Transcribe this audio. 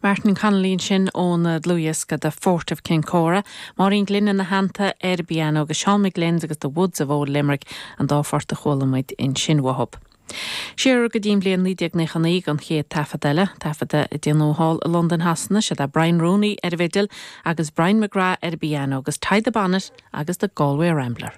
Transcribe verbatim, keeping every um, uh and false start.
Martin Connolly sin ón dlúthdhiosca The Fort of Kincora, Máirín Glynn ina theannta ar piano agus Seán McGlynn agus The Woods of Old Limerick an dá phort a chuala muid ansin uathu. Siar go dtí bliain naoi déag nócha naoi an chéad taifead eile, taifead a déanadh thall i Londain Shasana sé a Brian Rooney ar an bhfidil agus Brian McGrath ar piano agus Tie the Bonnet agus the Galway Rambler.